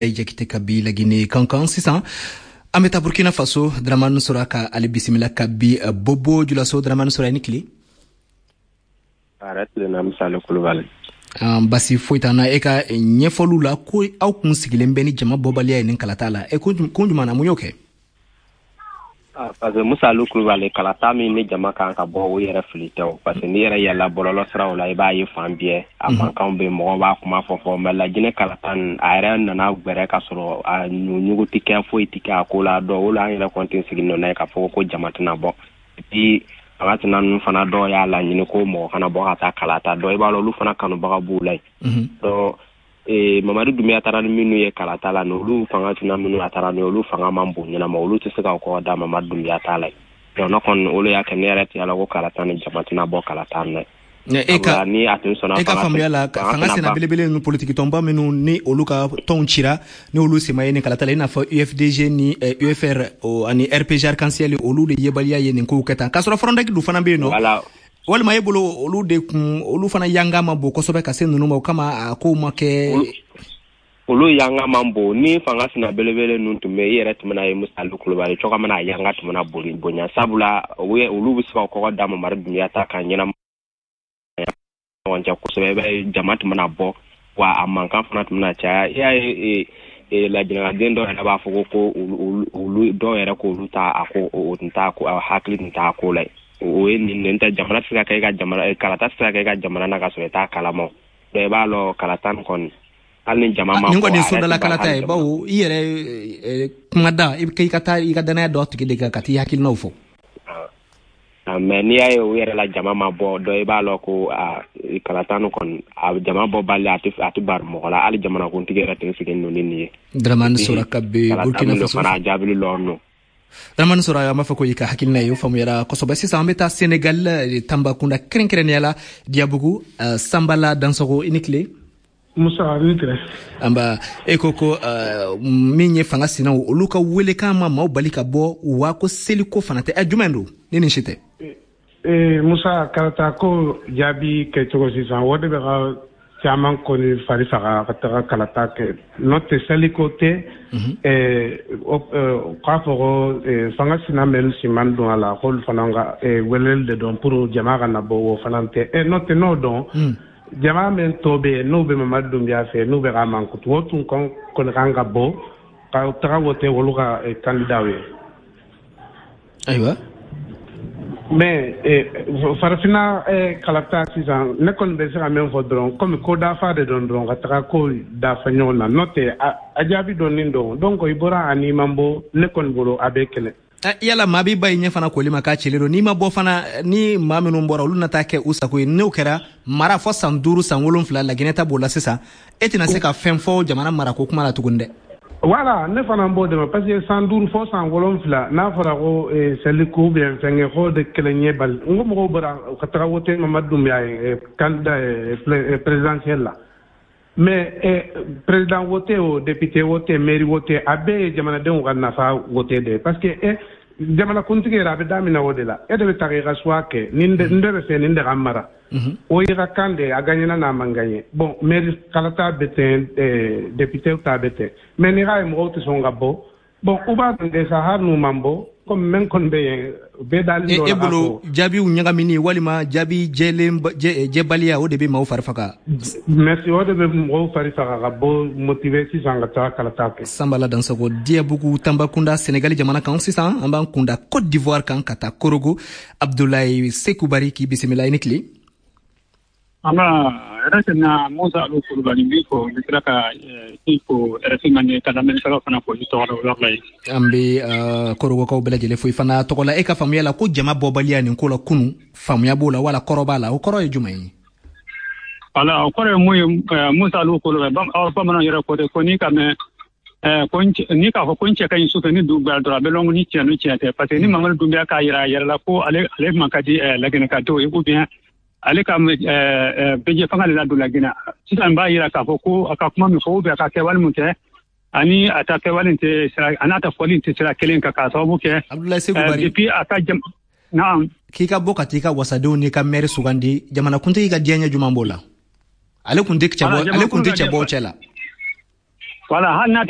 Jakite ka bi Lagine Kankan. Sisan an bɛ taa Burkina Faso. Dramani Sora ka ale bisimila ka bi Bobo Julaso. Dramani Sora, i ni tile. A tilenna, Misali Kulubali. Basi foyi t'an na. E ka ɲɛfɔliw la ko aw kun sigilen bɛ ni jama bɔbaliya ye nin kalata la, e kun jumɛn na, mun y'o kɛ? Parce que, Musa Kulubali, kalata min ni jama kan ka bɔ, o yɛrɛ fili tɛ o, parce que n'i yɛrɛ yɛlɛla bɔlɔlɔ siraw la, i b'a ye fan bɛɛ a mankanw bɛ, mɔgɔw b'a kuma fɔ. Mais Lajinɛ kalata nin, a yɛrɛ nana gbɛrɛ ka sɔrɔ a ɲugu tɛ kɛ, foyi tɛ kɛ a ko la. Dɔn o la, an yɛrɛ kɔni tɛ sigi nɔ n'a ye k'a fɔ ko jama tɛna bɔ. Et puis fanga tɛna ninnu fana, dɔw y'a laɲini ko mɔgɔ kana bɔ ka taa kalata dɔn. I b'a dɔn, olu fana kanubaga b'u la yen. Donc Mamadu Dunbiya taara ni minnu ye kalata la, olu fanga tɛna minnu a taara ni olu fanga man bon ɲɛnama, olu tɛ se ka kɔ da Mamadu Dunbiya t'a la. Donc ne kɔni, olu y'a kɛ ne yɛrɛ tɛ la ko kalata ni jama tɛna bɔ kalata na. E ka ni a tun sɔnna e ka faamuya la, fanga sena belebele ninnu, politiki tɔnba minnu ni olu ka tɔnw cira, ni olu sema ye nin kalata la, i n'a fɔ UFDG ni UFR ani RPG Arc-en-Ciel, olu de yebaliya ye nin kow kɛ tan, k'a sɔrɔ Frondek dun fana bɛ yen nɔ. Walima e bolo, olu de kun, olu fana yanga ma bon kosɛbɛ ka se ninnu ma, o kama a kow ma kɛ? Olu yanga man bon. Ni fanga sina belebele ninnu tun bɛ, i yɛrɛ tun bɛna ye, Musali Kulubali, cogo min na a yanga tun bɛna boli bonya, sabula olu bɛ se ka kɔgɔ da Mamadu Dunbiya ta kan ɲɛnama ɲɔgɔn cɛ kosɛbɛ. I b'a ye, jama tun bɛna bɔ wa, a mankan fana tun bɛna caya. I y'a ye, lajinɛkaden dɔw yɛrɛ b'a fɔ ko olu dɔw yɛrɛ k'olu ta a ko, o tun t'a ko, a hakili tun t'a ko la. O ye nin tɛ, jamana tɛ se ka kɛ i ka jamana, kalata tɛ se ka kɛ i ka jamana na ka sɔrɔ i t'a kalama. Donc i b'a lɔn, kalata nin kɔni, hali ni jama ma nin kɔni ye sodala kalata ye, bawo i yɛrɛ kuma da, i i ka taa i ka danaya dɔ tigi de kan ka t'i hakilinaw fɔ. Mais n'i y'a ye o yɛrɛ la jama ma bɔ dɔ, i b'a lɔn ko kalata nin kɔni, a jama bɔ bali, a tɛ bari mɔgɔ la. Hali jamanakuntigi yɛrɛ tɛ sigi nɔ ni nin ye. Dramani Sora ka bɛ Burkina Faso. Fana a jaabili lɔ nɔ. Dramani Sora, an b'a fɔ ko i ka hakilina ye, o faamuyara kosɛbɛ. Sisan an bɛ taa Senegal, Tambacounda kɛrɛnkɛrɛnnenya la, Diabugu. Sanbala Dansogo, i ni tile. Musa, ni tile. Anba. E ko min ye fanga sinaw, olu ka welekan ma maaw bali ka bɔ wa, ko seliko fana tɛ. Jumɛn don ni nin si tɛ? Musa, kalata ko jaabi kɛcogo sisan, o de bɛ ka caman kɔni fari faga ka taga kalata kɛ. N'o tɛ, seliko tɛ. K'a fɔ ko fanga sina mɛn siman don a la, k'olu fana ka weleli de dɔn pour jama ka na bɔ, o fana tɛ. N'o tɛ, n'o dɔn jama min tɔ bɛ yen, n'o bɛ Mamadu Dunbiya fɛ, n'u bɛ ka mankutu, o tun kɔni kan ka bɔ ka taga wote olu ka candidat ye. Ayiwa. Mais farafinna kalata sisan, ne kɔni bɛ se ka min fɔ dɔrɔn, komi ko dafa de dɔn dɔrɔn, ka taga ko dafa ɲɔgɔn na. N'o tɛ, a jaabi dɔɔnin dɔn. Donc i bɔra ani man bɔ, ne kɔni bolo a bɛ kɛlɛ. Yala maa b'i ba i ɲɛ fana koli ma k'a cilen don, n'i ma bɔ fana, ni maa minnu bɔra, olu na taa kɛ u sago ye. N'o kɛra, mara fɔ san 5, san 7, Laginɛ ta b'o la sisan, e tɛna se ka fɛn fɔ jamana marako kuma la tuguni dɛ. Voilà, ne fana b'o de ma, parce que san 5 fɔ san 7, n'a fɔra ko seliko ou bien fɛnkɛ ko de kɛlɛ ɲɛ bali, n ko mɔgɔw bɔra ka taga wote Mamadu Dunbiya ye candidat présidentiel la. Mais président wote o, député wote, mairie wote, a bɛɛ ye jamanadenw ka nafa wote de, parce que jamanakuntigi yɛrɛ a bɛ daminɛ o de la. E de bɛ taga i ka choix kɛ, nin de bɛ fɛ, nin de ka mara, o y'i ka kan de, a gagnera n'a man gagné. Bon, mairie kalata bɛ ten, député ta bɛ ten. Mais n'i k'a ye mɔgɔw tɛ sɔn ka bɔ, bon, u b'a dɔn de sa, hali n'u man bɔ, komi min kɔni bɛ yen, bɛɛ dalen E bolo, jaabiw ɲagamini walima jaabi jɛlen jɛbaliya, o de bɛ maaw fari faga? Merci, o de bɛ mɔgɔw fari faga ka bɔ, motiver sisan ka taa kalata kɛ. Sanbala Dansago, Diyabugu, Tanbakunda, Senegali jamana kan. Sisan an b'an kunda Côte d'Ivoire kan ka taa Korogo. Abdoulaye Sekubari, k'i bisimila, i ni tile. An yɛrɛ tɛna, Musa Alu Kulubali n b'i fo, n bɛ tila ka i fo RFI Mande, ka lamɛnnikɛlaw fana fo i tɔgɔ la o yɔrɔ la yen. An bɛ Korogokaw bɛɛ lajɛlen fo i fana tɔgɔ la. E ka faamuya la, ko jama bɔbaliya nin ko la kunu, faamuya b'o la wala kɔrɔ b'a la, o kɔrɔ ye jumɛn ye? Wala, o kɔrɔ ye mun ye, Musa Alu Kulubali, aw bamananw yɛrɛ ko ten ko n'i ka mɛn ko n'i k'a fɔ ko n cɛ ka ɲi sufɛ, ni dugu gbɛra dɔrɔn, a bɛ lɔn ni tiɲɛ ni tiɲɛ tɛ, parce que ni Mamadu Dunbiya k'a yira a yɛrɛ la ko ale man ka di Laginɛkadenw ye, ou bien ale ka bɛjɛ fanga de ladon Laginɛ sisan, b'a yira k'a fɔ ko a ka kuma min fɔ ou bien a ka kɛwale min kɛ, ani a ta kɛwale tɛ sira, a n'a ta fɔli tɛ sira kelen kan, k'a sababu kɛ Abdoulaye Sekubari, depuis a ka jam, naam. K'i ka bɔ ka t'i ka wasadenw n'i ka maire sugandi, jamanakuntigi ka diɲɛ ɲɛ jumɛn b'o la? Ale kun tɛ cɛbɔ, ale kun tɛ cɛbɔw cɛ la. Voilà, hali n'a tɛ.